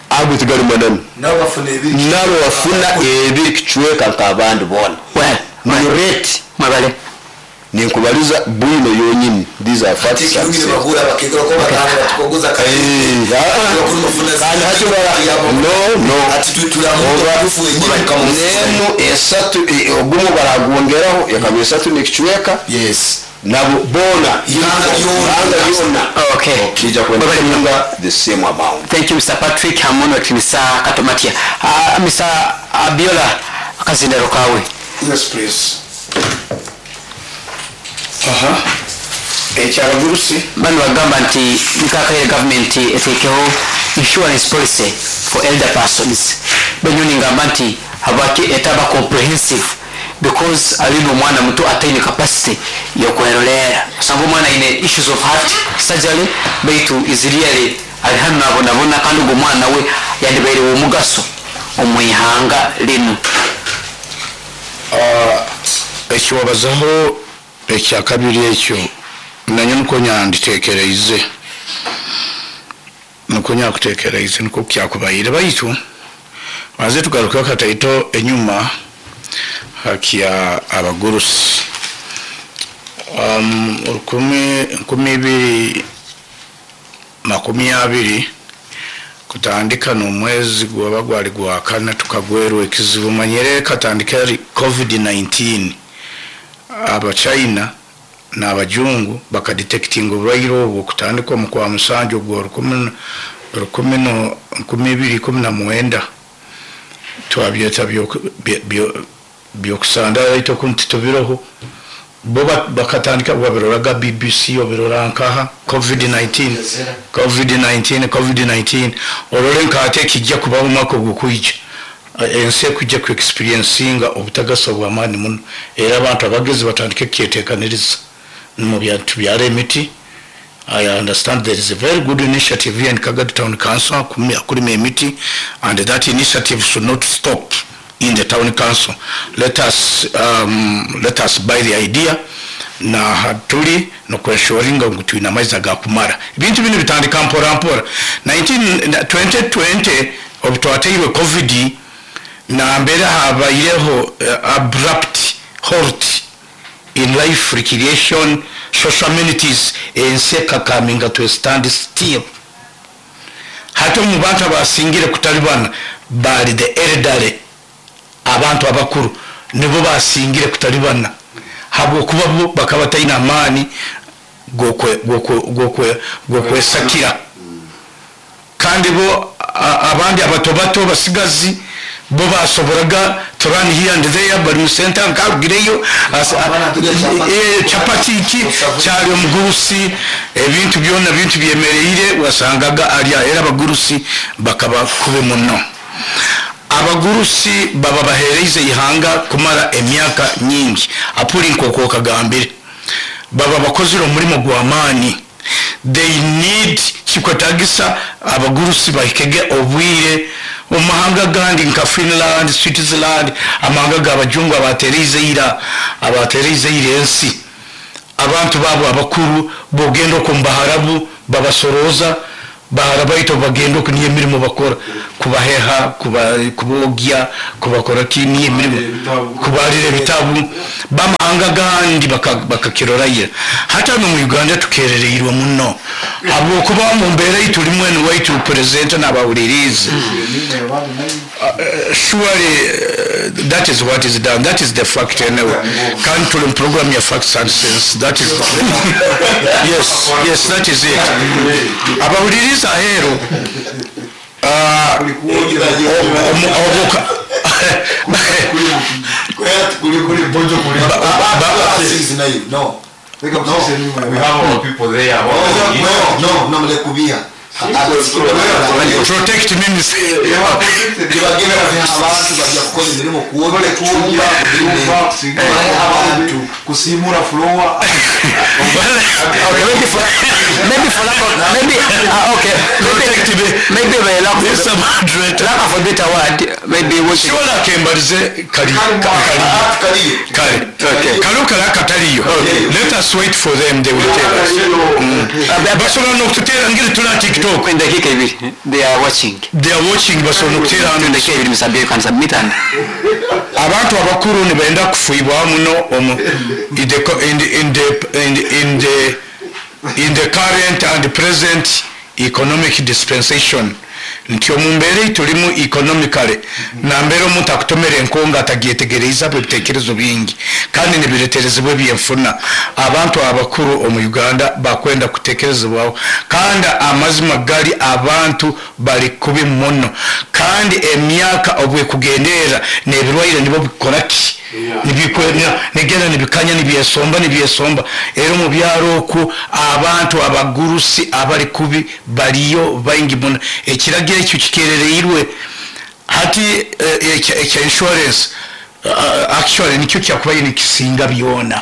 ago, tigali mananu. Nabo bafuna ebiri. Nabo bafuna ebiri kicweka nk'abandi boona. Well, ni rate. Mwebale. Ninkubaliza bwino yonyini, these are facts and Ekirungi sense. bahura bakegera ko batanga batukogoza. Eh, ah, ah. Kandi hati bara- no no Ati turamuha tufu wenyine tukamusiza. Nemu esatu, eh, ogumu baragwongeraho ekaba esatu n'ekicweka. Yes. Nabo boona. Ihanga lyona. Ihanga lyona. Okay. Kijja kwenda the same amount. Thank you, Mister Patrick hamuno Mister Katomatia. uh, Mister Abiola, akazindaro kawe. Yes, please. Aha. Ekyabagurusi. Bano bagamba nti nikakaire gavumenti etekeho insurance policy for elder persons. Benyoni ngamba nti habwaki etaba comprehensive, because alina omwana muto ataine capacity yokwerolera, osanga omwana aine issues of heart surgery, baitu is really ali hano nabonabona, kandi ogwo omwana we yandibaire omugaso omwihanga linu. Ekiwabazaho ekyakabiri ekyo nanye niko nyanditekereize, niko nyakutekereize, niko kyakubaire, baitu banze tugarukeho kataito enyuma hakya abagurusi. um, rukumi nkumi ibiri makumi abiri kutandika n'omwezi gwaba gwali gwa kana tukagwerwa ekizibu, manyire katandika ari covid nineteen. Abachina n'abajungu bakadetectinga oburwaire obwo kutandika omu kwa musanju ogwo rukumi rukumi no nkumi ibiri kumi na mwenda. Twabyeta byoku- byo- byo- byokusanda aito kunti tubiroho bo ba- bakatandika babiroraga B B C, obirora nkaha covid nineteen, covid nineteen, covid nineteen, orole nkate kijja kubaho omwaka ogukwija, ensi ekujja ku experiencinga obutagasa bw'amaani muno, era abantu abagezi batandike kyetekaniriza mu tubyara emiti. I understand there is a very good initiative here in Kagadi Town Council, akumi- akulima emiti, and that initiative should not stop in the town council. Let us, um, let us buy the idea na hatuli nokweshoringa ngu twine amaizi agakumara. Ebintu binu bitandika mpora mpora. nineteen twenty twenty obu twateirwe covid, nambere habaireho uh, abrupt halt in life, recreation, social amenities, ensi ekakaminga to a stand still. Hati omu bantu abasingire kutalibana bali the elderly, abantu abakuru nibo basingire kutalibana, habwokuba bo bakaba bataine amaani g'okwe- g'okwe- g'okwe- g'okwesakira, kandi bo a- abandi abato bato basigazi bo basoboraga to run here and there, bali mu center nkarugireyo as- Abana turya chapati. eh, chapati iki kyali omugurusi, ebintu byona bintu byemereire wasangaga alya, era abagurusi bakaba kube muno. Abagurusi baba bahereize ihanga kumara emyaka nyingi, apuri nkoko kagambire baba bakozire omurimo gw'amaani. They need, kikwetagisa abagurusi bahikege obwire. Omu mahanga gandi nka Finland, Switzerland, amahanga g'abajungu abatereize ira abatereize ira ensi, abantu babo abakuru bogenda okwo mu Baharabu babasoroza. Bahara baitu bagenda oku niyo emirimo bakora, kubaheha, kuba- kubogya, kubakora ki, niyo emirimo, kubalira ebitabu. Bamahanga gandi baka- bakakirorayira. Hati hano mu Uganda tukerereirwe muno habwokuba mu mbeera eitulimu enu waitu purezidenti n'abawulirizi. Uh, surely uh, that is what is done, that is the fact. Anyway, kandi tuli mu program ya facts and sense. That is, yes yes that is it. Abawuliriza aheeru, uh, omu- obuka- No. We have our people there. No, no, mulekubiha. Protect me. Tibagenda abantu bajja kukola emirimu, kuwogya, kucumba, abantu. Kusimura floor. Okay, maybe for maybe for lack of maybe uh, okay, maybe Protect me. Maybe by lack of This moderator. Lack of a better word, maybe what Kiwala kembalize kali kali. Kaliyo. Kale. Okay. Kale kale akataliyo, let us wait for them, they will tell us. Basobola n'okututeera ngeri tula TikTok. In dakika ibiri they are watching. They are watching, basobola n'okuteera hano. In dakika ibiri, Mister you can submit and Abantu abakuru nibenda kufuibwa muno omu in the, in the, in the, in the, in the, in the current and present economic dispensation, nti omu mbeera eitulimu economically, nambeera omuntu akutomera enkonga atagyetegereiza bwe ebitekerezo bingi kandi nibireterezebwa ebyenfuna. Abantu abakuru omu Uganda bakwenda kutekerezebwaho, kandi amazima gali abantu bali kubi muno, kandi emyaka obwekugendeera n'ebirwaire nibo bikora ki, nigenda nibikanya, nibyesomba, nibyesomba. Era omu byaro okwo abantu abagurusi abali kubi baliyo baingi muno. Ekiragiro ekyo kikerereirwe hati, eh, ekya ekya insurance, uh, actually nikyo kyakubaye nikisinga byona,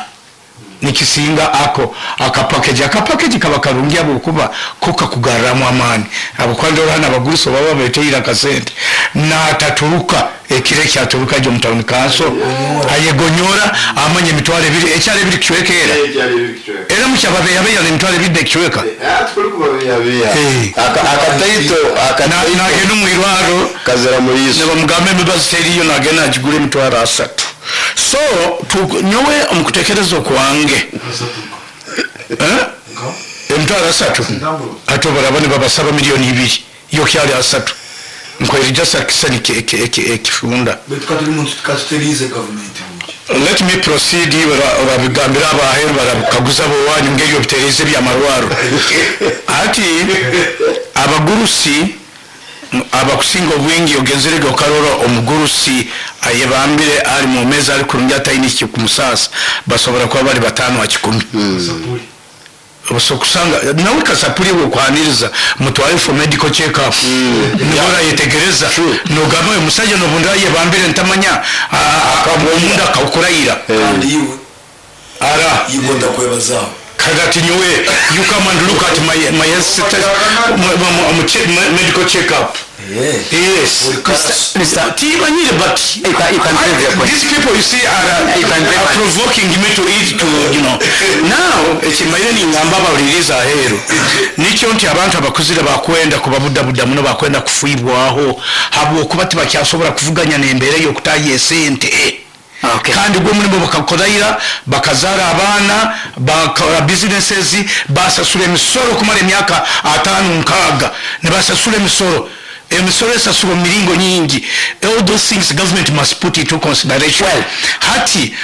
nikisinga ako akapakeji. Akapakeji kaba karungi habwokuba ko kakugarramu amaani, habwokuba hano abagurusi baba beteire akasente nataturuka ekiro ekyaturuka gyo mu town council ayegonyora amanya emitwaro ebiri ekyalo ebiri kicweka era era mukyababeyabeya emitwaro ebiri nekicweka. Eh. Akataito. Na- nagenda omu irwaro Kazira muliiso. Nebamugamba emibazi teriyo, nagenda agigura emitwaro asatu. So tu- nyowe omukutekereza okwange, Eh? Emitwaro asatu ate obaraba nibabasaba miliyoni ibiri, yo kyali asatu nkwerija sakisa ekifunda. Katuterize gavumenti. Let me proceed. bara- barabigambira abaheru, barabikaguza bowanyu ngeri obitereze byamarwaro. Ati abagurusi abakusinga obwingi, ogenzerege okarora omugurusi ayebambire ali mumezi ali kurungi ataine ekikumusasa, basobora kuba bali batano akikumi. So kusanga nawe kasapuri bwekwaniriza mutware for medical check up, niho orayetegereza nogamba oyu musajja nobundi ayebambire ntamanya omunda akawukurayira. Kandi iwe ara yigonda kwebazaho. Kagati nyowe, you come and look at my my health status, my, my, my, che- my medical check up. Yes. Mister Tibanyire, but You can- you can prove your point. these people, you see, are, You can are prove- provoking me to eat to you know now. Ekimaire ningamba abawuliriza aheeru nikyo nti abantu abakuzire bakwenda kubabudabuda muno, bakwenda kufiibwaho habwokuba tibakyasobola kuvuganya n'embeera ey'okutaayo esente. Okay. Kandi gwe omulimu bakakoraira, bakazaara abaana, bakora businesses, basasula emisoro okumara emyaka ataano nkaaga nibasasula emisoro. Emisoro esasulwa mu miringo nyingi. All those things government must put into consideration. Hati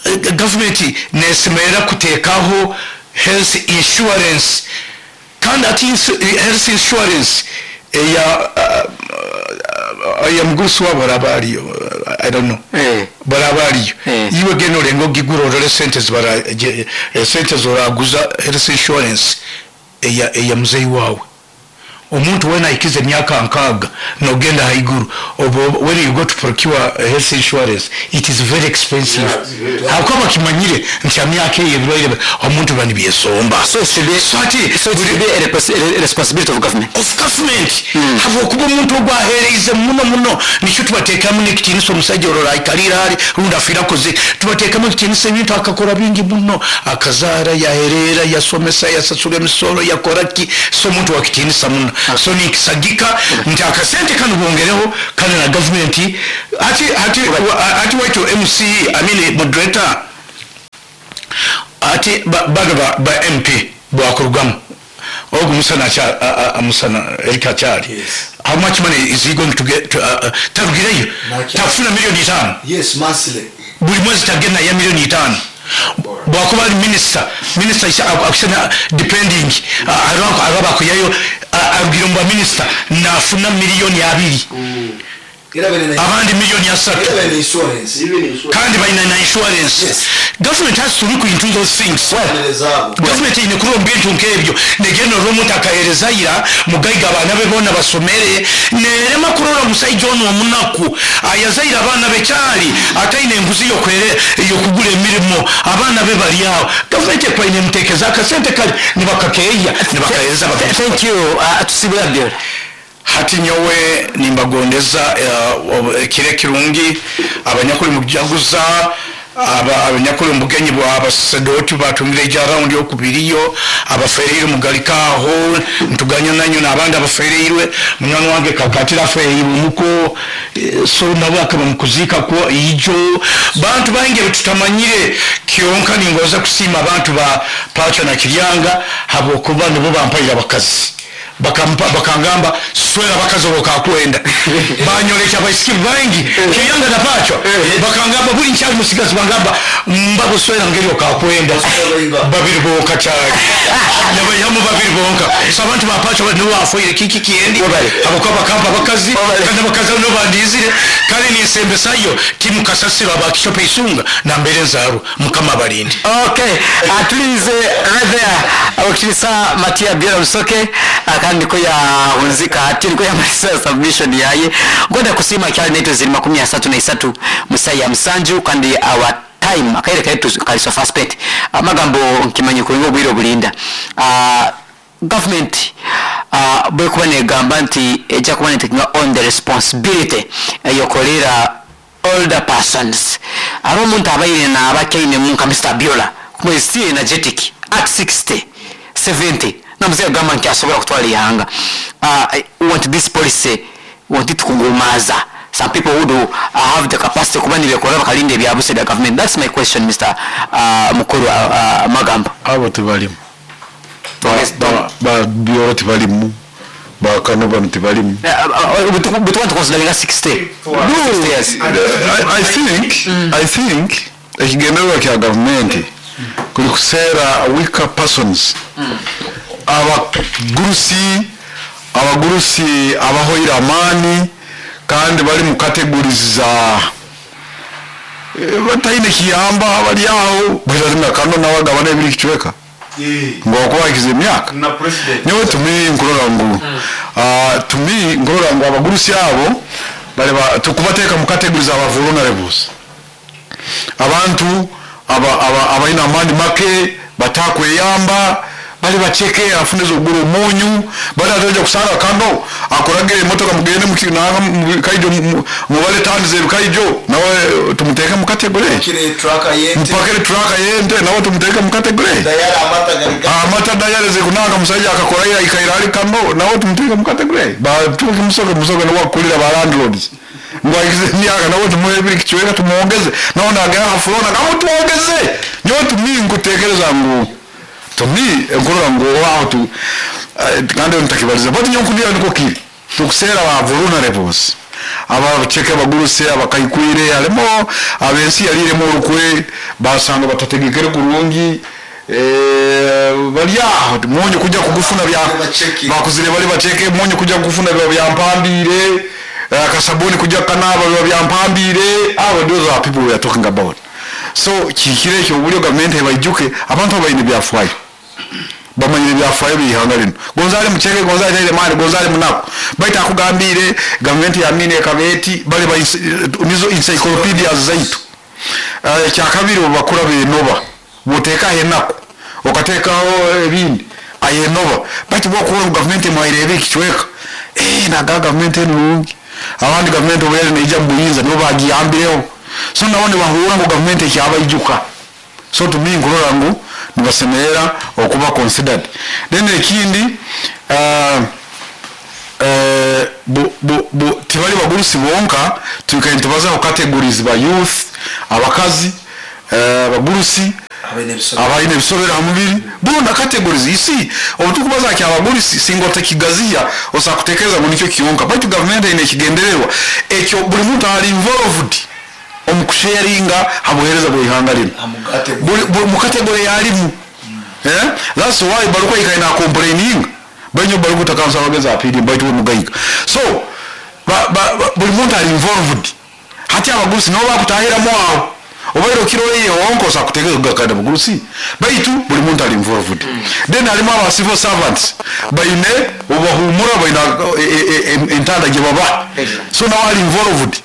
eh, government nesemerera kuteekaho health insurance, kandi ati insu- health insurance eya uh, eya mugurusi wabo araba ariyo, I don't know. Eh. Baraba ariyo. Eh. Iwe genda orenga ogigura orore sente zibara je- eh, sente zoraguza health insurance eya eya muzeyi wawe. Omuntu wena aikize emyaka nkaaga nogenda haiguru, obo when you go to procure health insurance, it is very expensive, hakuba bakimanyire nti emyaka eyo ebirwaire omuntu biba nibyesomba. So it should be So ati so it should be a, repos- a responsibility of government. Of government, habwokuba omuntu ogwo aheereize muno muno. Nikyo tubateekamu n'ekitiinisa. Omusajja orora aikalira ali rundi afiire akoze, tubateekamu ekitiinisa, ebintu akakora bingi muno, akazaara, yahereera, yasomesa, yasasula emisoro, yakora ki. So omuntu wakitiinisa muno. So ninkisagika nti akasente kano bongereho, kandi na gavumenti hati hati hati waitu M C, I mean moderator, ati ba- bano ba, ba M P bwakurugamu ogu Musana acha- a- a- Musana Eric akyali. Yes. How much money is he going to get to, uh, uh, tarugireyo Nakyali. Takufuna miliyoni itaano Yes, monthly. buli mwezi, tagenda ya miliyoni itaano. Bwakuba ali minisita, minisita akusana depending araba akuyayo arugira mu baminisita nafuna miliyoni abiri, Era bene na abandi miliyoni asatu. Era bene insurance. Kandi balina na insurance. Yes. Government has to look into those things. Zaabo. Gavumenti eine kurora bintu nk'ebyo, negenda olw'omuntu akahereza ira mugaiga abaana be boona basomere, nerema kurora omusaija ono omunaku ayazaire abaana be kyali ataine enguzi yokwere yokugura emirimo, abaana be bali aho. Gavumenti ekwaine emuteekeza akasente kali nibakakeeya nibakahereza. Thank you. uh, tusibula Byora. Hati nyowe nimbagondeza eh, ekiro ekirungi abanyakuli mukujaguza, aba- abanyakuli mubugenyi bwa basasedoti batungire ija raundi yokubiriyo, abafereirwe mugalikaho ntuganya nanyo, n'abandi abafereirwe, munywani wange kakatira afereirwe muko, eh, so nabo akaba mukuzika kwo ijo bantu bangi betutamanyire. Kyonka ningoza kusiima abantu ba Pacha na Kiryanga habwokuba nibo bampaire abakazi. Bakampa, bakangamba swera abakazi bokakwenda, banyoleka abaisiki bangi Kiryanga na Pacho. Bakangamba buli nkyali musigazi, bangamba mbabuswera ngeri okakwenda babiri bonka kyali nabayamu babiri bonka. So abantu ba Pacho nibo bafoire kiki kiendi abakuba bakampa abakazi, kandi abakazi abo nibo bandizire. Kandi ninsembesayo timu kasasiro abakishopa isunga nambere nzaru. Mukama abalinde. Okay, uh, tulize right there abakirisa Matia Byora Musoke, uh, kandi niko yahunzika ati niko yamalisa submission yaye. Ngoda kusima kyali neto ziri makumi asatu na isatu musayi ya musanju, kandi our time akaire kaitu kali so fast spent. Amagambo nkimanyi kulinga obwire obulinda. uh, government uh, bwekuba negamba nti ejja kuba netekinga on the responsibility eyokolera older persons, ari omuntu abaire naaba nka Mister Biola kumwe still energetic at sixty seventy, namuze agamba nti asobola kutwala ihanga. uh, I want this policy, want it kugumaza some people who do uh, have the capacity kuba nibekora bakalinda ebyabuse bya government. That's my question, Mister uh, Mukuru uh, uh, Magambo. Abo tebalimu. Ba Byoro tebalimu, bakano bano tebalimu. Bwetuba tuconsideringa sixty sixty years. I, I think I think ekigendererwa kya gavumenti kuli kuseera weaker persons, abagurusi abagurusi abahoire amaani kandi bali mu categories za eh, bataine kiyamba, bali aho bwiratina kano nawe agabana ebiri kicweka ng'okubakiza emyaka. Na president. Nyowe tumi nkurora ngu ah, tumi nkurora ngu abagurusi abo bali ba- tukubateeka mu categories aba vulnerables, abantu aba- aba- abalina amaani make batakweyamba, bali baceke afuneza okugura omunyu, bali ataja kusanga kano akuragira emotoka mugende muki- nanga mu bikaijo mu- mubale tani z'ebikaijo, nawe tumuteeke mu category. Kire traka yente. Mpakire traka yente, nawe tumuteeke mu category. Dayara amata gari. Amata dayareze kunanga musajja akakora ira ikaira ali kano, nawe tumuteeke mu category. Batuke musoke musoke nawe akulira ba landlords ngwakize emyaka, nawe tumuhe ebiri kicweka tumwongeze, nawe nagera hafurona nawe tumwongeze. Nyowe tumi nkutekereza ngu tumi nkurora ngu aho tu eh, kandi ntakibaliza, but nyowe nkundira niko kiri tukuseera ba vulnerables, abaceke, abaguruse, abakaikwire, harimo abensi yaliremo olukwe basanga batategekere kurungi, eh, bali aho munyu kujja kugufuna bya Bacheke. Bakuzire bali bacheke, munyu kujja kugufuna biba byampambire, eh, akasabuni kujja kanaba biba byampambire. Abo those are people we are talking about. So kikire ekyo obulyo gavumenti ebaijuke abantu abaine byafaayo, bamanyire byafaayo byihanga lino. Gonza ali mucheke, gonza ali taire mani, gonza ali munaku, baita akugambire gavumenti yamine ekabeeti bali ba nizo encyclopedias zaitu. Eh, ekyakabiri obakura benoba bwoteekaho enaku okateekaho ebindi ayenoba, baitu bwokuba gavumenti emwairebe ekicweka, eh, naga gavumenti enungi. Abandi gavumenti obuyali neija mubuyinza nibo bagiyambireho, so nabo nibahuura ngu gavumenti ekyabaijuka. So tumi nkurora ngu nibasemerera okuba considered. Then ekindi, uh, eh, bu- bu- bu- tibali bagurusi bonka, twikaire nitubazaho categories ba youth, abakazi, eh, abagurusi, abaine ebisobero ha mubiri, bona categories. You see, obutukubaza ki abagurusi singa otakigaziya osa kutekereza ngu nikyo kiyonka, baitu gavumenti eine ekigendererwa ekyo buli muntu ali involved omu kusharinga ha buheereza bw'ihanga lino buli buli- mu category yalimu. Eh, that's why baluko ikaina complaining banyo baluko takansa abagezi apiri baitu mugaiga. So ba, ba, ba, buli muntu ali involved. Hati abagurusi nabo bakutahiramu aho obaire okiroye wonko kutegeka kada bugurusi, baitu buli muntu ali involved. Then halimu aba civil servants baine obahumura, baine e- e- e- entanda gye baba, so nawe ali involved.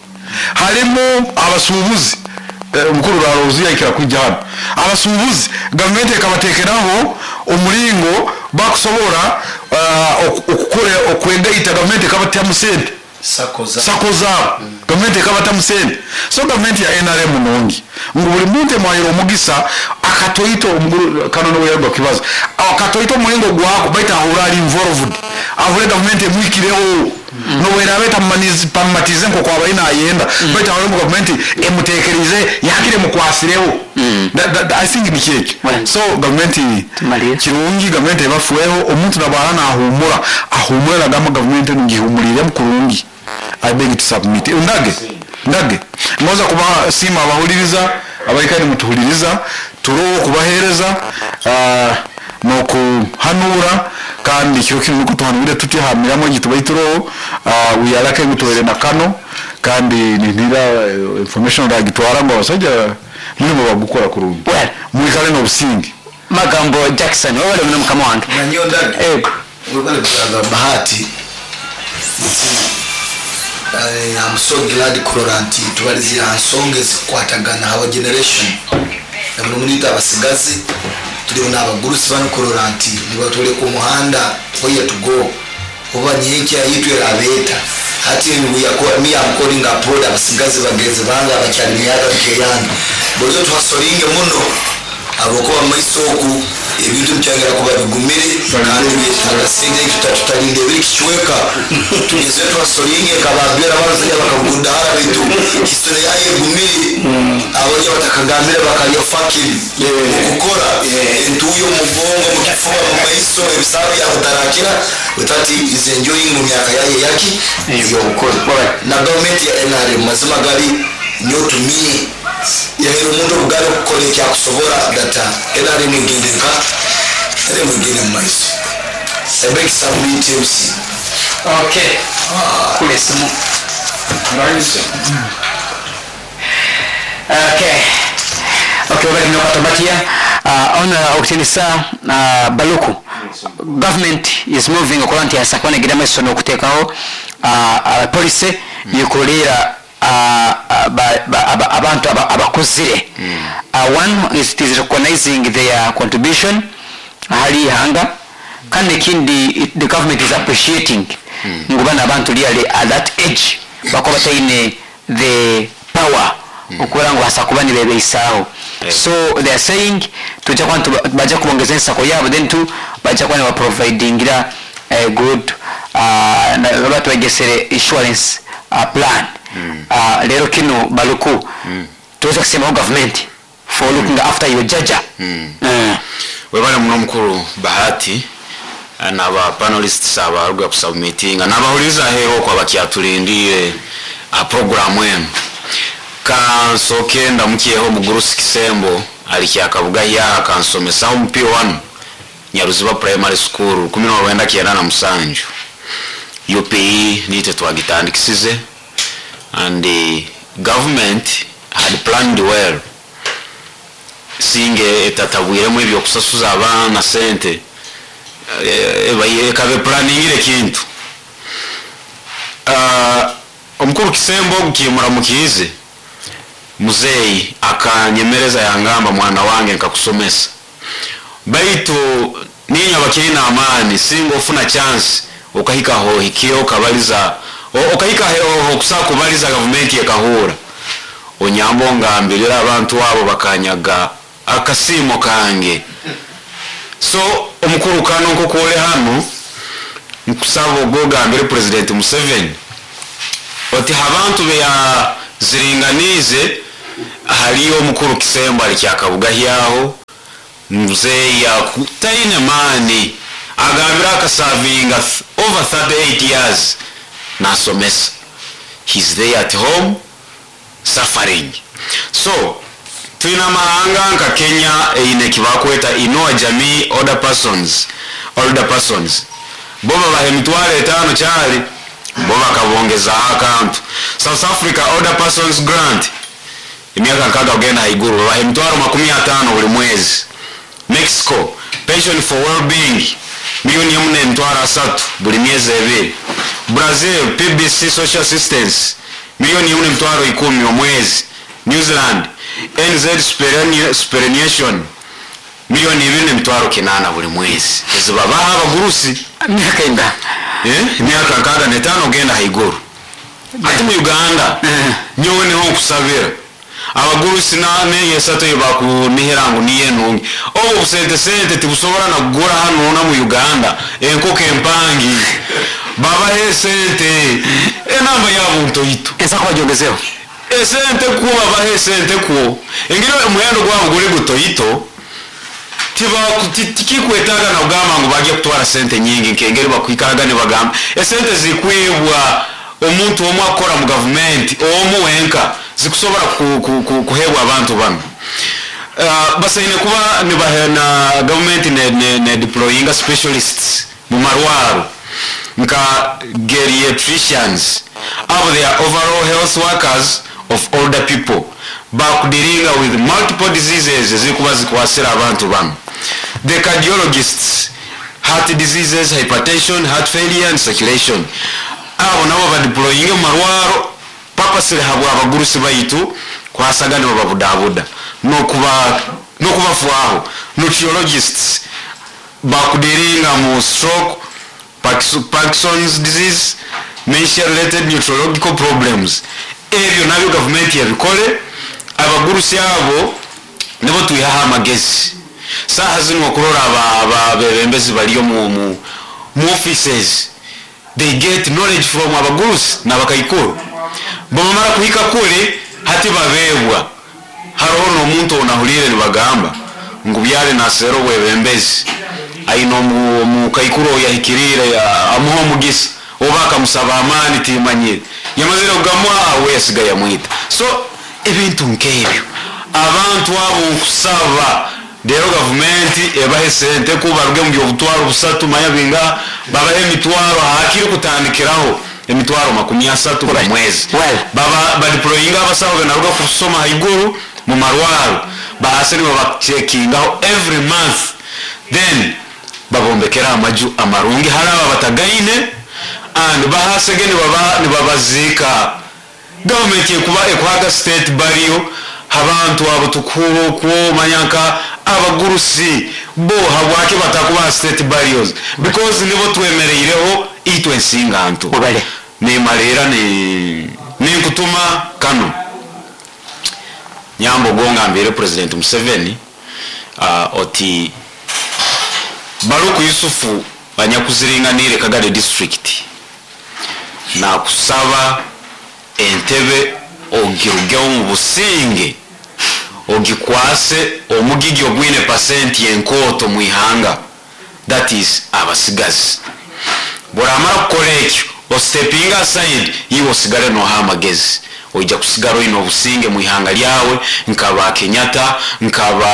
Halimu abasuubuzi, eh, omukuru Rarozi yaikira kwijja hano. Abasuubuzi gavumenti ekabateekeraho omulingo bakusobora uh, okukora okwegaita, gavumenti ekabatyamu sente, sako zaabo gavumenti ekabatamu sente. So gavumenti ya N R M nungi ngu buli muntu emwahira omugisa akatoito omuguru kano niwe yaruga kibazo akatoito omulingo gwako, baitu ahura ali involved, ahure gavumenti emwikireho nobweraba etamumatize nko kwaba ayenda, baitu ahure ngu gavumenti emutekerize yakire mukwasireho. That- that- I think nikyekyo. Well, so gavumenti Tumaliye. kirungi gavumenti ebafueho, omuntu nabara nahumura ahumura nagamba gavumenti enu ngihumuliremu kurungi. I beg to submit. Ndage ndage ngoza kuba sima abahuliriza abaikani mutuhuliriza turowo kubahereza uh, nokuhanura, kandi kiro kinu nuko tuhanurire tutyahamiramo gitubaituroho uh, wiyarake ngutuwere na kano kandi nintira eh, information ragitwara ngo abasajja mulimo bagukora kurungi. Well. Mwikale n'obusinge. Magambo Jackson, wowe muno mukama wange. Nanyo ndage. Ego. Webale brother Bahati. I am so glad kurora nti tubalizira nsonga ezikwatagana our generation na buli muntu abasigazi turiho n'abagurusi bano kurora nti nibatuleka omuhanda where to go oba nyenkya yitu erabeeta. Hati we are call- me am calling abroad abasigazi bagenzi bange abakyali myaka nkeyange bozo twasolinge muno abokuba mumaiso oku ebintu bikyongera kuba bigumire kandi byetaaga sente tutatalinda ebiri kicweka tugeze twasolinge kababira abasajja bakagudahara bitu histori yayo egumire abajya batakagambire bakalya fakiri okukora entuyo mugongo mukifuba mu maiso ebisaba byakutarakira witati is enjoying mu myaka yayo yaki ey'obukore. Na gavumenti ya N R M mazima gali nyotumie yahera omuntu obugari okukora ekyakusobora data N R M egende nka N R M egende mu maiso ebekisabwiti M C. Okay, kule simu. Okay, okay, wabali mnokatobatia uh, ona okutinisa uh, baluku government is moving okola nti yasakwana egira maiso n'okuteekaho uh, uh, policy yekulira uh, uh, ba- ba- aba- abantu aba- abakuzire. uh, one is it is recognizing their contribution ahali ihanga, kandi ekindi it- the government is appreciating ngu bano abantu really at that age bakuba bataine the power okubera ngu basa kuba nibebeisaaho. So they are saying tujja kuba ntu- bajja kubongeza ensako yaabo, then tu bajja kuba nibaprovidingira eh, good uh, na- baba twegesere insurance uh, plan. uh, lero kino baluku tuweza kusemaho government for looking after your jaja. Mm. Webale muno mukuru Bahati naba panelists abaruga kusubmitinga nabahuliriza ahero okwo abakyatulindire aha programu enu. Kansoke ndamukyeho omugurusi Kisembo ali kyakabuga yaha kansomesaho mu P one Nyaruziba Primary School kumi n'olwenda kyenda na musanju U P E niite twagitandikisize, and the government had planned well singe etatabwiremu ebyokusasuza abaana sente, eh, ekabe planingire kintu. Ah, omukuru Kisembo ogukimuramukiize muzeeyi akanyemereza yangamba mwana wange nkakusomesa, baitu ninywe abakiine amaani singa ofuna chance okahika hohikire okabaliza o- okahika hoho okusobola kubaliza gavumenti ekahura onyamba ongambirira abantu abo bakanyaga akasiimo kange. So omukuru kano nkokwole hano Nkusaba ogogambire President Museveni oti abantu beyaziringanize haliyo omukuru Kisembo ali kyakabugahyaho mzeeyi taine maani agambire akasavinga over thirty-eight years nasomesa, he's there at home suffering. So twina amahanga nka Kenya eine kibakweta Inua Jamii older persons, older persons bo babaha emitwaro etaano kyali bo bakabongezaho akantu. South Africa older persons grant emyaka nkaaga kugenda haiguru babaha emitwaro makumi ataano buli mwezi. Mexico pension for well-being milioni emu n'emitwaro asatu buli myezi ebiri. Brazil P B C social assistance milioni emu n'emitwaro ikumi omwezi. New Zealand N Z superannuation milioni ibiri n'emitwaro kinaana buli mwezi. Ezibabaha abagurusi myaka inga eh emyaka nkaaga n'etaano ogenda haiguru. Ati mu Uganda nyowe niho nkusabira abagurusi na neyesatu bakunihira ngu niye nungi obu busente sente tibusobora na kugura hano na mu Uganda enkoko empangi babahe sente enamba yabo ntoito esa kwajongezeo esente kuba babahe sente kuo engiro omuhendo gwabo guri gutoito tiba tikikwetaga na kugamba ngu bagiye kutwara sente nyingi nkengeri bakwikaraga ne bagamba esente zikwibwa omuntu omwe akora mu government omu wenka zikusobora kuhebwa abantu bano. Uh, basaine kuba nibahena government ne, ne, ne deployinga specialists mu marwaro nka geriatricians abo they are overall health workers of older people bakudiringa with multiple diseases zikuba zikwasira abantu bano. The cardiologists, heart diseases, hypertension, heart failure and circulation abo nabo badeployinge mu marwaro papasire habwa abagurusi baitu kwasaga nibo babudabuda nokuba nokubafuaho. Nutriologists bakudiringa mu stroke, Parkinson's disease, dementia related neurological problems. Ebyo nabyo government yabikole abagurusi abo nibo twihaha amagezi. Saha zino okurora abebembezi baliyo mu, mu, mu offices they get knowledge from abagurusi n'abakaikuru bamara kuhika kule hati babebwa. Hariho n'omuntu onahulire nibagamba ngu byale nasero bwebembezi aino mu kaikuru yahikirire amuha omugisa oba akamusaba amaani timanyire yamazire kugamwa awe yasigaye amwita. So ebintu nk'ebyo abantu abo nkusaba rero gavumenti ebahe sente kubaruge mu byobutwaro busatu manya binga babahe emitwaro hakiri kutandikiraho emitwaro makumi asatu buli mwezi. Baba badeployinga abasaho benaruga kusoma haiguru mu marwaro bahase nibo bachekingaho every month then babombekera amaju amarungi hari aba batagaine and bahasege nibaba nibabazika. Government ekuba ekwaga state burial abantu abo tukuru ko manyanka abagurusi bo habwake batakuba state burials because nibo twemereireho itwe nsinganto ni marera ni ninkutuma kano nyambo gonga mbere President Museveni uh, oti Baruku Yusufu banyakuziringanire Kagadi district na kusaba entebe ogirugeho mu businge ogikwase omugigi ogwine percent yenkoto mu ihanga, that is abasigazi. Boramara kukora ekyo ostepinga aside iwe osigare noha amagezi oija kusigara oine obusinge mu ihanga lyawe nkaba Kenyatta nkaba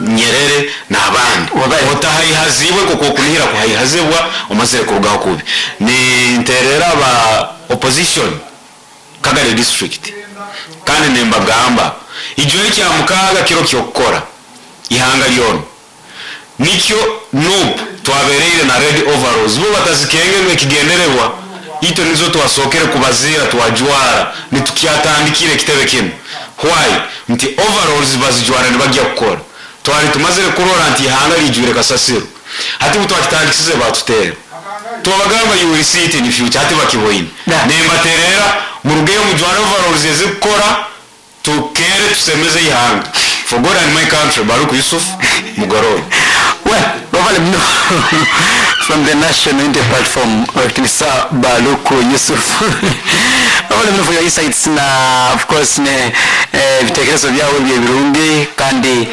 Nyerere n'abandi otahaihazibwe kuko okunihira kuhaihazibwa omazire kurugaho kubi. Ninterera aba opposition Kagadi district kandi nembagamba ijo kya mukaga kiro kyokukora ihanga lyono nikyo N U P twabereire na red overalls bo batazikenge ekigendererwa ito nizo twasokere kubazira twajwara nitukyatandikire kitebe kino. Why nti overalls bazijwara nibajya kukora twari tumazire kurora nti ihanga lijwire kasasiro hati butwakitandikisize batutera twabagamba you will see it in the future hati bakiboine nembaterera murugeyo mujwara overalls ezikukora tukere tusemeze ihanga. For God and my country, Baruku Yusuf Mugororo. Well, bavale mno. From the National Unity Platform, Owekitinisa Baluku Yusuf, all for your insights na of course ne eh, ebitekerezo byawe bye birungi kandi.